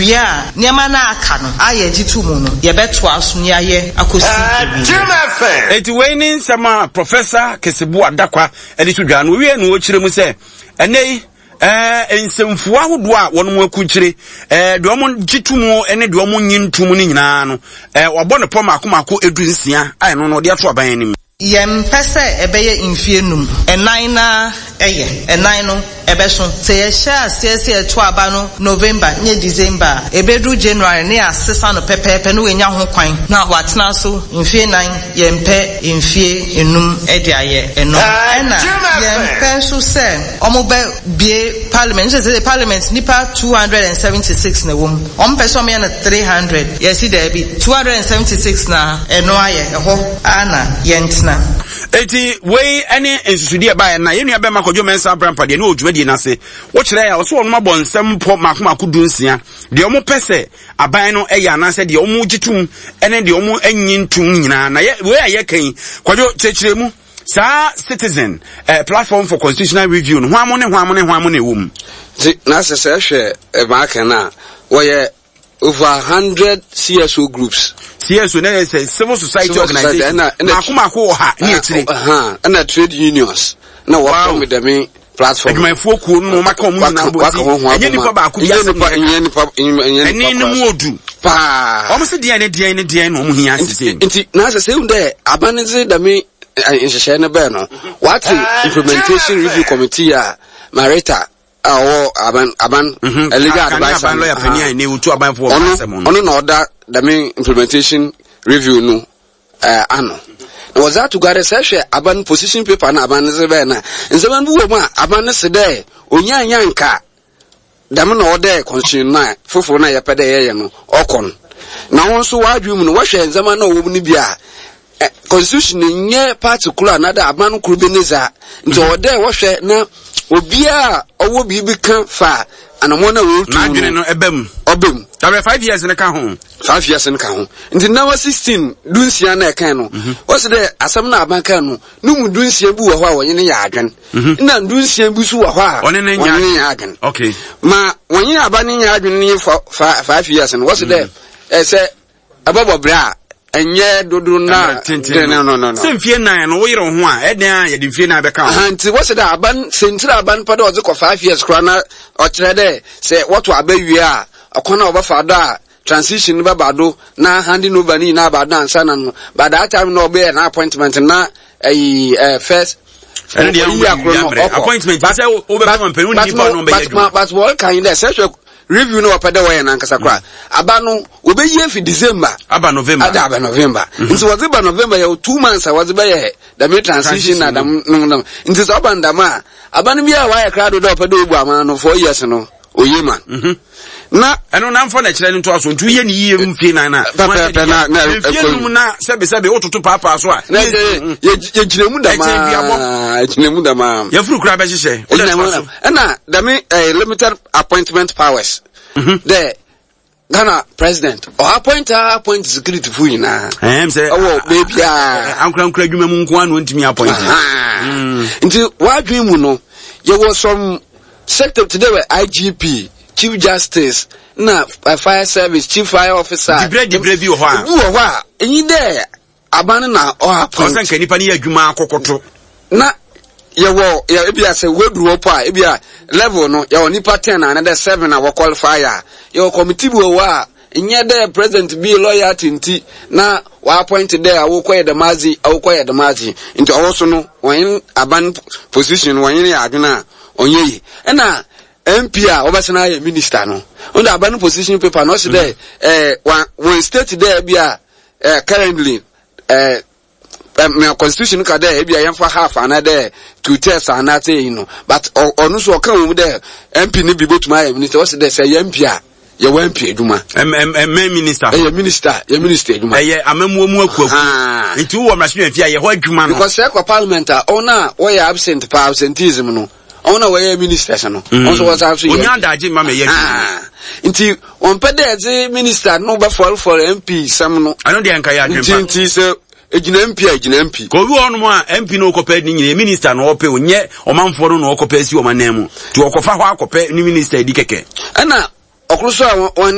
Yɛwie a, nneɛma no a aka no a yɛgye to mu no, yɛbɛtoa so na yɛayɛ akɔsi awieeɛ. Enti wei ne nsɛm a Professor Keseboa Dakwa de to dwa no. Owiee no ɔkyerɛ mu sɛ, ɛnnɛ yi, ɛɛ nsɛmfua ahodoɔ a wɔn akukyire, ɛɛ deɛ wɔn gye to mu ne deɛ wɔn nye nto mu no nyinaa no, ɛɛ wɔabɔ no pɔ mmaako mmaako 16 a ɛno no wɔde ato aban anim. Yɛmpɛ sɛ ɛbɛyɛ mfeɛ num, ɛnan no ara yɛ, ɛnan no ɛbɛso. Sɛ yɛhyɛ aseɛ sɛ yɛto aba no November nyɛ December a, ɛbɛduru January na yɛasesa no pɛpɛɛpɛ na wanya ho kwan na watena so mfeɛ nnan, yɛmpɛ mfeɛ nnum de ayɛ ɛno. Ɛna yɛmpɛ nso sɛ wɔbɛbue parliament, wohu sɛ seesei parliament nnipa 276 na ɛwɔ mu, wɔpɛ sɛ wɔyɛ no 300, yɛse daabi, 276 na ɛno ayɛ, ɛhɔ. ara na yɛntena. Enti wei ne nsusudi a ɛbaeɛ na yɛn nua bɛma Kwadwo Mensah Abrampa deɛ ne wɔ dwumadie no ase. Wokyerɛ a ɔsɛ wɔn abɔ nsɛm pɔ mako mako 16 deɛ wɔn pɛ sɛ aban no yɛ anaasɛ deɛ wɔn gye tom ne deɛ wɔn nyi ntom nyinaa. Na yɛ wei a yɛka yi Kwadwo kyerɛkyerɛ mu saa citizen eh, platform for constitutional review no hwan mo ne hwan mo ne hwan mo na ɛwɔ mu. Nti na sɛ sɛ ɛhwɛ ɛmaa no a wɔyɛ Over 100 CSO groups. CSO na yɛ sɛ civil society civil organization. Mako mako wɔ ha ne akyire. Ɛna trade unions na wɔfɔ mi dɛm platform. Adwumayɛfoɔ kuo no wɔn aka wɔn nyinaa bɔ ti. Ɛnyɛ nipa baako bi asɛm na ɛnyɛ nipa ɛnyɛ nipa ɛne ne mu odu. Paa. Wɔn sɛ deɛn ne deɛn ne deɛn na wɔn hia sisi. Nti na sɛ sɛ ehu dɛ aban ne dze dɛm nhyehyɛɛ no bɛɛ no wɔate implementation review committee a Marita a ɔwɔ aban aban mhm. legal adviser aban lawyer panyin a ne otu abanfo wɔ asɛm no ɔno na ɔda dɛm implementation review no eh, ano na wɔdze ato gua dɛ sɛ hwɛ aban position paper na aban no dze bɛyɛ na nsɛm bi wɔ mu a aban no se dɛ onyaa nya nka dɛm na ɔdɛ constitution na fofor na yɛpɛ dɛ yɛyɛ no ɔkɔ no na wɔn nso wɔadwene mu no wɔhwɛ ndzɛmba na ɔwɔ mu no bi a Constitution no nnyɛ party kor anaadɛ aban kor bi ne dza, ntsi ɔwɔ dɛ wɔhwɛ na obiara a ɔwɔ biribi kã fa anamɔn a worutu no, N'adwene no ɛba mu. ɔba mu. Dabrɛ 5 years no ka ho. 5 years no ka ho. Ntsi nawa 16, 16 na ɛkãe no, wɔse dɛ asɛm no a aban kãe no, no mu 16 bi wɔ hɔ a wɔnye no yɛ adwen, nna 16 bi so wɔ hɔ a wɔnye no nnyɛ adwen. Okay. Ma wɔnye aban no nnyɛ adwen no nye 5 years no, wɔse dɛ sɛ Ɛbɛbɔ berɛ a ɛnyɛ dodo na tenten no. No, no, no. Sɛ mfie 4 no woyere wo ho a, ɛdɛn a yɛde mfie 4 bɛka ho. Nti wɔsɛ dɛ aban sɛntiri aban pɛ dɛ ɔdze kɔ 5 years koraa na ɔkyerɛ dɛ sɛ wɔto aba wie a ɔkwan a wɔbɛfa do a transition no bɛba do na handing over no nyinaa aba do ansa na no by that time na ɔbɛyɛ na appointment na ɛyi ɛɛ first ɛno deɛ ɔyi akoro no ɔkɔ appointment sɛ wobɛfa mpɛn wo nipa no ɔbɛyɛ adwuma but wɔka yi dɛ sɛ hwɛ review no wɔpɛ dɛ wɔyɛ nankasa koraa aba no wɔbɛyi afi December aba November ada aba November nti wɔdze ba November yɛ 2 months a wɔdze bɛyɛ dɛm transition na dɛm no no nti sɛ ɔba no dɛm a aba no bi a wɔayɛ krado dɛ ɔpɛ dɛ obu ama no 4 years no oye ma na ɛno na mfa na kyerɛ no ntoa so nti woyɛ ne yie mfie 4 na pɛpɛɛpɛ na mfie 5 na sɛbesɛbe wototo paapaa so a na yɛgyina mu damaa yɛgyina mu damaa yɛfuru koraa bɛhyehyɛ wode toa so ɛna dɛm limited appointment powers dɛ Ghana president ɔ appoint a appoint security fo nyinaa ɛwɔ beebiaa ankorankora adwuma mu nko ano ntumi appoint. Nti wadwen mu no yɛwɔ some sector today wɛ IGP, chief justice na fire service chief fire officer. Dibrɛ dibrɛ bi wɔ hɔ a bi wɔ hɔ a enyi dɛ aban no na ɔ appoint. Ɔsɛ nka nipa no yɛ adwuma akɔkɔto. Na yɛwɔ yɛ ebi a sɛ weduru hɔ po a ebi a level no yɛwɔ nipa 10 a dɛ seven a wɔ qualify a yɛwɔ committee bi wɔ hɔ a nyɛ dɛ president bi loyalty nti na wɔ appoint dɛ awokɔ yɛ dɛm adze, awokɔ yɛ dɛm adze, nti ɔwɔ so no wɔnye aban position no wɔnye yɛ adwene a ɔnyɛ yi. Ɛna MP a wɔbɛsena ayɛ minister no ɔno de aban position paper no ɔsi dɛ ɛɛ wɔn state dɛ ebi a currently mɛ constitution ka dɛ ebi a yɛmfa half anaa dɛ two thirds anaa sɛ yi no, but ɔno nso ɔka wɔn mu dɛ MP ne bi botumi ayɛ minister. Ɔsi dɛ sɛ yɛ MP a yɛwɔ MP adwuma. Ɛmɛ minister. Ɛyɛ minister, yɛ minister adwuma. Ɛyɛ amamuo mu akuaku. Nti wowɔ mmarahyɛ fi a yɛ hɔ adwuma no. Because sɛ ɛkɔ parliament a ɔno a wɔyɛ absent pa absenteeism no, ɔno a wɔyɛ ministers no ɔno nso wɔsan so yɛ. Onya adagye mma mɛ yɛ adwuma. Nti wɔn pɛ dɛ ɛdze minister no bɛfɔlfɔl MP sɛm no. Ɛno deɛ nka yɛ adwempa. Nti sɛ egyina MP a egyina MP. Ka obi wɔ hɔnom a MP no ɔkɔpɛ ne nyina minister na ɔpɛ, onyɛ ɔmanfoɔ no na ɔkɔpɛ asi ɔman nan mu nti ɔkɔfa hɔ akɔpɛ ne minister di kɛkɛ. Ɛna ɔkoro so a wɔn.